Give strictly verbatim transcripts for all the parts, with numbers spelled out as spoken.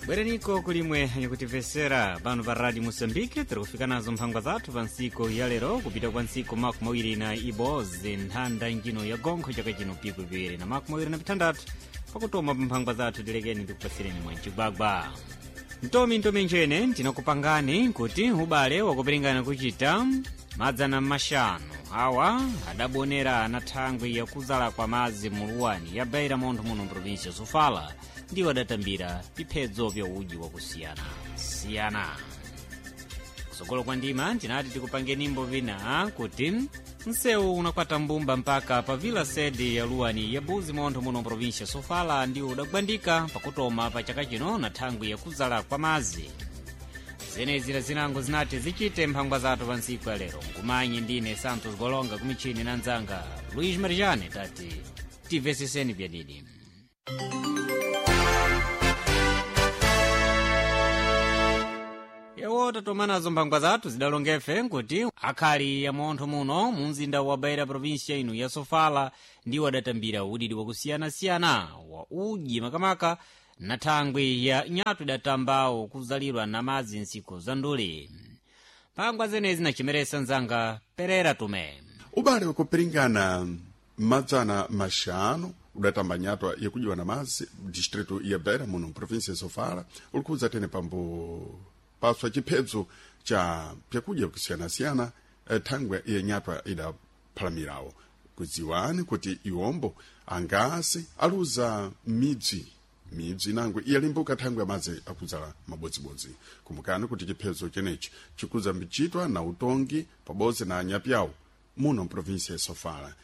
Bwereniko kulimwe anyikutimvesera pano pa Radio Moçambique. Tiri kufika nazo mphangwa zathu pa ntsiku ya lero, kupita kwa ntsiku makumi awiri na ibodzi nthanda njino ya gonkho chaka chino piku piwiri na makumi awiri na pithandatu. Pakutoma pa mphangwa zathu, tilekeni ndikupasireni mwancigwagwa ntomi ntomi njene tinakupangani kuti ubale wakuperingana kuchita madzana mashanu awa adabonera na thangwi yakuzala kwa madzi muluwani ya Beira montho muno mprovinsia Sofala, ndiwo adatambira piphedzo vya udyi wakusiyana siyana. Kusogolo kwa ndima tinati tikupange nimbo vina kuti msewu unakwata mbumba mpaka pa vila sede ya luwani ya Buzi montho muno mprovinsia Sofala ndiwo udagwandika pakutoma pa chaka chino na thangwi yakuzala kwa madzi. Zenezi zinango zinati zichite mphangwa zathu pa ntsiku ya lero. Nkumanyi ndine Santos Golonga, kumichini na nzanga Luis Marijane, tati timveseseni pyadidi. Yewo tatomanazo mphangwa zathu zidalongefe nkuti akhali ya montho muno mu mzinda wa Beira, provinsia ino ya Sofala, ndiwo adatambira udidi wakusiyanasiyana wa udyi makamaka na thangwi ya nyatu idatambawo kuzalidwa na madzi ntsiku za nduli. Mphangwa zenezi nachimeresa nzanga Perera Tume. Ubale wakupiringana madzana maxanu udatamba nyatwa yakudywa na madzi distrito ya Beira muno mprovinsia ya Sofala ulikudza tene pambo paswa chiphedzo cha pyakudya kusiyana-siyana eh, thangwe ya nyatwa idaphalamirawo. Kudziwani kuti iwombo angasi aluza midzi midzi inango iyalimbuka thangwe ya madzi akudzala mabodzibodzi. Kumbukani kuti chiphedzo chenechi chikudza mbichitwa na utongi pabodzi na anyapyawo muno mprovinsia ya Sofala,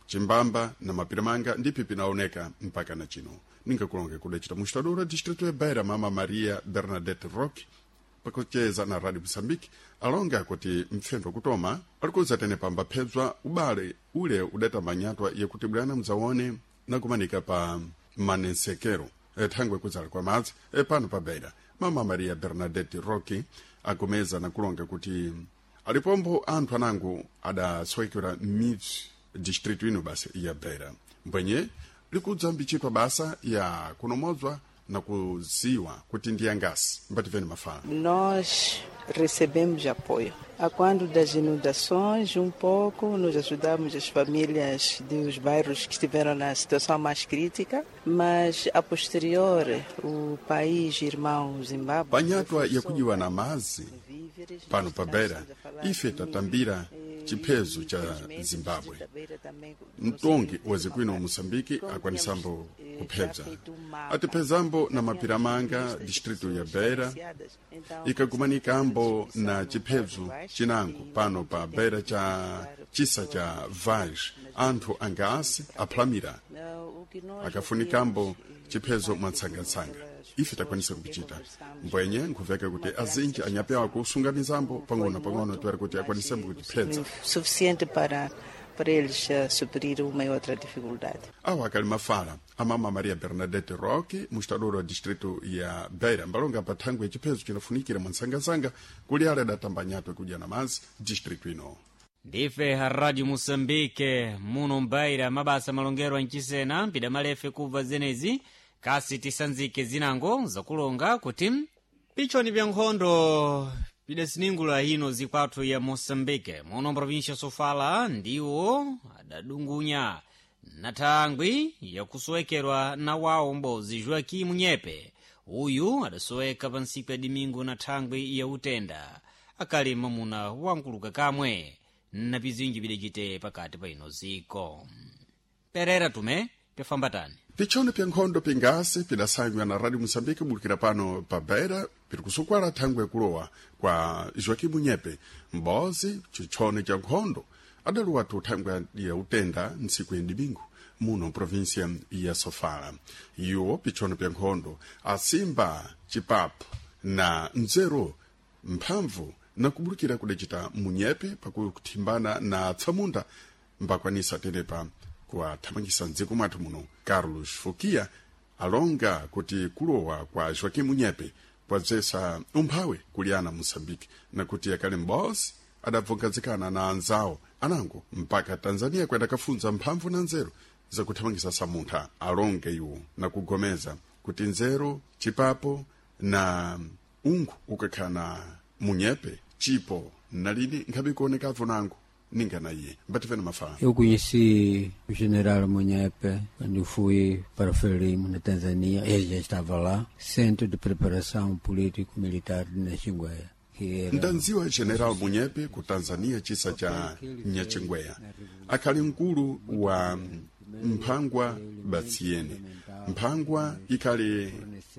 chimbamba na mapiramanga ndipi pinaoneka mpaka na chino. Ningakulonge kudacita mustadura distrito ya Beira, mama Maria Bernadette Rock, pakucheza na Radio Moçambique, alonga kuti mpfendo kutoma alikuza tene pamba phedzwa ubale ule udatamba nyatwa yakuti bwana mzaone nakumanika pa manensekero thangwe kudzala kwa madzi e pano pa Beira. Mama Maria Bernadette Rocky agomeza nakulonga kuti alipombo anthu anango adasowekera midzi distrito ino basa ya Beira, mbwenye likudza mbichitwa basa ya kunomodzwa na kuziwa kuti ndi angasi mbativeni mafala. Nós recebemos apoio. A quando das inundações, um pouco, nos ajudamos as famílias dos bairros que estiveram na situação mais crítica, mas a posterior, o país irmão Zimbábue. Panyatwa yakudywa na madzi pano pa Beira, ife tatambira chiphezo cha Zimbabwe. Mtongi wa zikwino wa Moçambique akwanisambo kuphedza atiphedzambo na mapiramanga distrito ya Beira ikakumanikambo na chiphedzo chinango pano pa Beira cha chisa cha Vaz. Anthu angasi aphalamira akafunikambo chiphedzo mwatsangatsanga, ife takwanisa kupichita mbwenye nkhuveka kuti azinji anyapyawo kusunganizambo pang'ono-pang'ono tiwari kuti akwanisembo kuchiphedza Suficiente para para eles eh, suprir uma e outra dificuldade. Awa akali mafala amama Maria Bernadette Roque, mustadoro wa distrito ya Beira, mbalonga pa thangwi ya chiphedzo chinafunikira mwatsangatsanga kuli ale adatamba nyatwa kudya na madzi distrito ino. Ndife Radio Moçambique muno mbaira mabasa malongero anchisena mpida malefe kubva zenezi kasi tisanzike zinango zakulonga kuti pichoni vya nkhondo pidasiningula ino zikwathu ya Moçambique muno mprovinsia Sofala ndiwo adadungunya na thangwi yakusowekerwa na wawo mbozi Joaquim Munyepe. Uyu adasoweka pa ntsiku ya dimingu na thangwi ya utenda, akali mamuna wankuluka kamwe na pizinji pidacite pakati pa ino ziko. Perera Tume pyafambatani. Pichoni pya nkhondo pingasi pidasanywa na Radio Moçambique bulukira pano pa Beira piri kusukwala thangwi yakulowa kwa Joaquim Munyepe mbozi chichoni cha nkhondo adaluwa tu thangwi ya utenda ntsiku ya dimingu muno provinsia ya Sofala. Iwo pichono pya nkhondo asimba chipapo na nzeru mphamvu na kubulukira kudacita munyepe pakuthimbana na tsamunda mbakwanisa tenepa kuwathamangisa mdziko mwathu muno. Carlos Fukia alonga kuti kulowa kwa Joaquim Munyepe kwadzesa umphawi kuliana Moçambique na kuti akali m'bosi adabvungazikana na anzawo anango mpaka Tanzania kwenda kafunza mphamvu na nzeru zakuthamangisa samuntha. Alonge iwo na kugomeza kuti nzeru chipapo Na ungu ukakhala munyepe chipo nalini nkhabe kuonekavo nangu ninga na iye mbativene mafala. Eu conheci o general Munyepe quando fui para Frelimo, na Tanzânia. Ele já estava lá. Centro de Preparação Político-Militar de Nachingwea. Que era Ndanziwa General Munyepe ku Tanzania, chisa cha Nyachingweya. Akhali mkulu wa mphangwa batsiyene. Mphangwa ikhali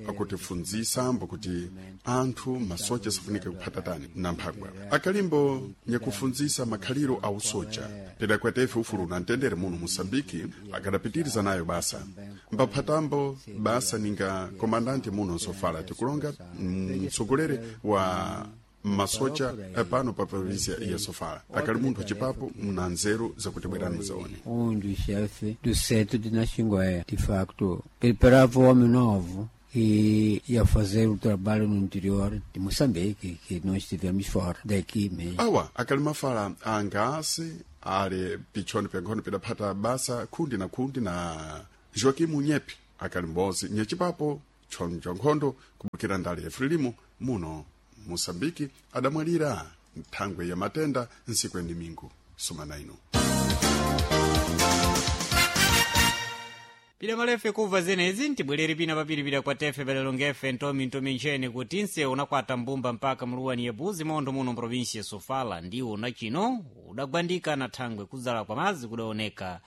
akutifunzisa mbo kuti anthu masoja safunika kuphatatani na mphangwa. Akalimbo nyakufunzisa makhaliro a usoja pidakwete ufulu na mtendere muno Musambiki. Akadapitiriza nayo basa mbaphatambo basa ninga komandante muno Sofala, tikulonga mtsogoleri wa masoja pano pa província ya Sofala. Akali munthu wacipapo mna nzeru zakuti bwerani muzaone. Um dos chefes do centro de Nachingwea. De facto, preparava o homem novo e ia fazer o trabalho no interior de Moçambique, que nós estivemos fora daqui mesmo. Awa akali mafala angasi ali pichoni pyankhono pidaphata basa khundi na khundi na Joaquim Munyepe, akali m'bodzi nyacipapo tchono cha nkhondo kubukira ndale ya Frelimo muno Moçambike. Adamwalira nthangwe ya matenda nsiku ya domingo sumana ino. Pida malefe kubva zenezi ntibwerere pina papiripira kwa tefe padalongefe ntomi ntomi nchene kuti nse unakwata mbumba mpaka mluwani ya Buzi mondo muno mprovinsi ya Sofala ndiwo na chino udagwandika na thangwe kudzala kwa madzi kudaoneka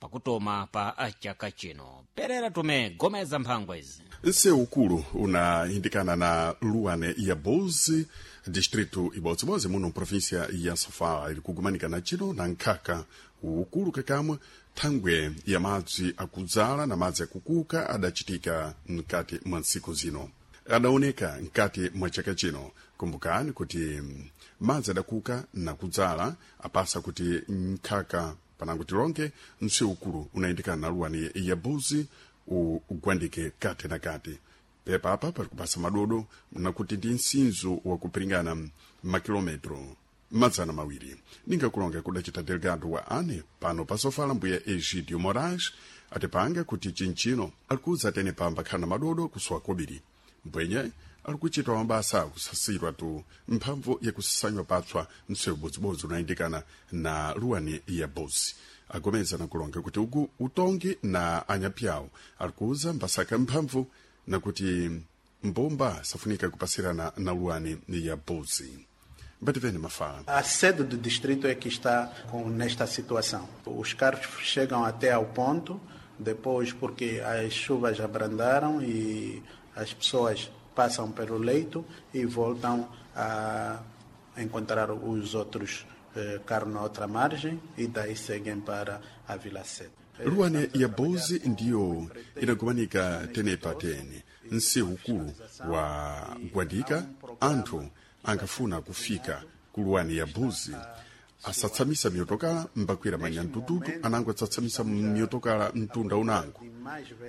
pakutoma pa chaka chino. Perera tume gomeza mphangwa izi. Nsewu ukulu unayindikana na luwane ya Buzi, distrito ibodzibodzi muno mprovinsia ya Sofala, ili kugumanika na chino na nkhaka ukulu kakamwe thangwe ya madzi akudzala na madzi akukuka adachitika mkati mwa ntsiku zino, adaoneka mkati mwa chaka chino. Kumbukani kuti mm, madzi adakuka na kudzala apasa kuti nkhaka panango tilonge msewu ukulu unayindikana na luwani ya Buzi ugwandike kati na kati. Pepapa pali kupasa madodo nakuti ndi msinzo wakupiringana makilometro madzana mawiri. Ningakulonga kudacita delegado wa ane pano pasofala mbuya Egidio Moraes atipanga kuti chinchino alikuza tene pamba khana madodo kusowa kobiri mbwenye alikuchitwa mabasa akusasirwa tu mphamvu yakusasanywa patswa msewu bodzibodzi unayindikana na luwani ya Bozi. Agomeza nakulonga kuti ugu utongi na anyapyawo alikuza mbasaka mphamvu nakuti mbumba safunika kupasirana na luwani ya Bozi. Mbativene mafala. A sede do distrito é que está com, nesta situação. Os carros chegam até ao ponto, depois porque as chuvas abrandaram e as pessoas passam pelo leito e voltam a encontrar os outros eh, carros na outra margem e daí seguem para a Vila Sede. Luwane ya Bozi ndiyo inagumanika tenepa tene nsewu ukulu wa gwandika. Anthu ankafuna kufika ku luwani ya Buzi asatsamisa miyotokala mbakwira manyantututu anango atsatsamisa miyotokala mtunda unango.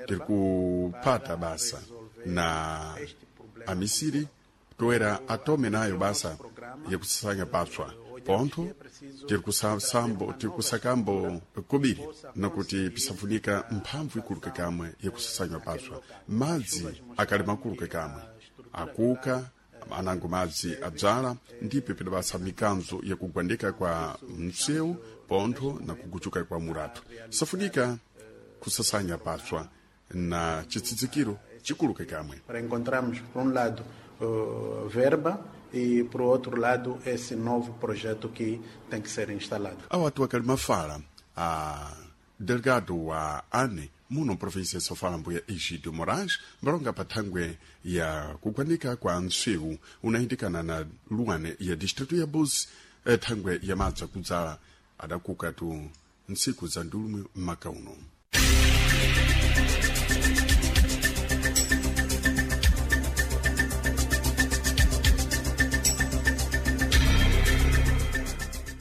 Tiri kuphata basa na amisiri toera atome nayo basa yakusasanya patswa pontho. Tiri kusasambo tiri kusakambo kobiri nakuti pisafunika mphamvu ikulu kakamwe yakusasanywa patswa. Madzi akali makulu kakamwe akuka anango madzi adzala ndipo pidabasa mikanzo yakugwandika kwa msewu pontho na kuguchuka kwa muratu. Safunika kusasanya patswa na chitsidzikiro chikulu kakamwe. Para encontrarmos, por um lado, eh, verba e, por outro lado, esse novo projeto que tem que ser instalado. Awatu akali mafala a delegado wa ane muno província ya Sofala mbuya Egidio Moraes mbalonga pa thangwe ya kugwanika kwa msewu unayindikana na luwane ya distrito ya Buzi, eh, thangwe ya madzi akudzala adakuka tu ntsiku za ndulumwe m'maka uno.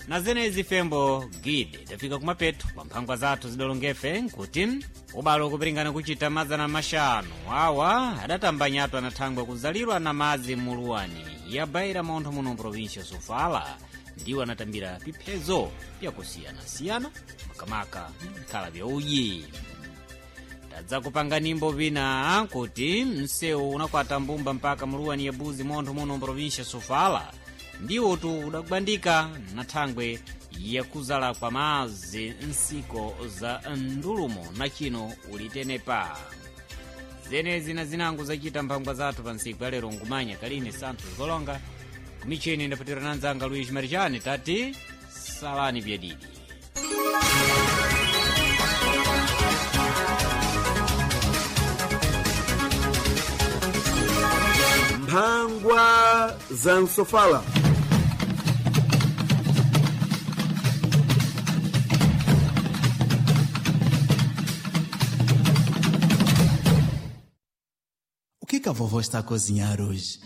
Na zenezi fembo gide tafika kumapeto kwa mphangwa zathu zidalongefe nkuti ubalo ukupiringana kuchita mazana mashanu awa adatambanyatwa na thangwe kuzalirwa na madzi muluwani ya Baira montho muno mprovinsia Sofala ndiwo anatambira piphezo pyakusiyanasiyana makamaka nkhala bya uji. Tadzakupanga nimbo vina kuti msewu unakwata mbumba mpaka muluwani ya Buzi montho muno mprovinsha Sofala ndiwotu udagwandika na thangwe yakuzala kwa mazi nsiko za ndulumo na chino ulitenepa. Zenezi na zinango zachita mphangwa zathu pa ntsiku ya lero. Ngumanya Kaline Santos Golonga kumicheni ndapatira na nzanga Luis Marijani, tati salani byadidi. Mphangwa za Msofala. O que que a vovó está a cozinhar hoje?